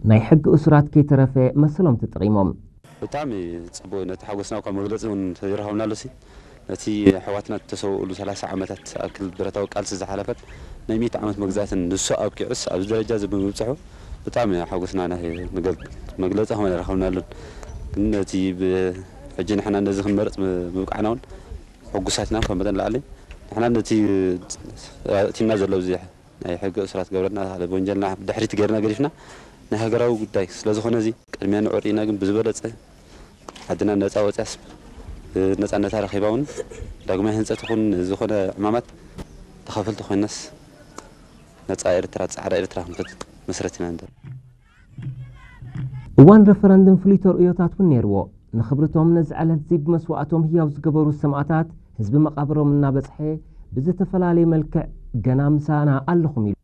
ናይ ሕጊ እሱራት ከይተረፈ መሰሎም ተጠቒሞም። ብጣዕሚ ጽቡቕ፣ ነቲ ሓጎስና እኳ መግለጺ እውን ተይረኸብናሉ ሲ፣ ነቲ ኣሕዋትና እተሰውእሉ ሰላሳ ዓመታት ዝኣክል ብረታዊ ቃልሲ ዝሓለፈት ናይ ሚእቲ ዓመት መግዛእትን ንሱ ኣብቂዑስ ኣብዚ ደረጃ እዚ ብምብጽሑ ብጣዕሚ ሓጎስና ናይ ንገል-፣ መግለጺ ከም ኣይረኸብናሉን። ግን ነቲ ብ-፣ ሕጂ ንሕና ነዚ ክንመርጽ ም-፣ ምብቃዕና እውን ሕጉሳት ኢና። ካብ መጠን ላዕሊ ንሕና ነቲ ኣእቲና ዘሎ ኣብዚ ናይ ሕጊ እሱራት ገብረና፣ ወንጀልና ብድሕሪት ገይርና ገዲፍና ናይ ሃገራዊ ጉዳይ ስለ ዝኾነ እዚ ቅድሚያ ንዕርኢና ግን ብዝበለጸ ዓድና ነጻ ወጽያስ ነጻነታ ረኺባ እውን ዳግማይ ህንጸት ይኹን ዝኾነ ዕማማት ተኻፈልቲ ኮይናስ ነጻ ኤርትራ፣ ጻዕዳ ኤርትራ ክንፈጥር መስረት ኢና ንደሊ። እዋን ረፈረንድም ፍሉይ ተርእዮታት እውን ነይርዎ። ንኽብርቶም ነዚ ዕለት እዚ ብመስዋእቶም ህያው ዝገበሩ ሰማእታት ህዝቢ መቓብሮም እናበጽሐ ብዝተፈላለየ መልክዕ ገና ምሳና ኣለኹም ኢሉ።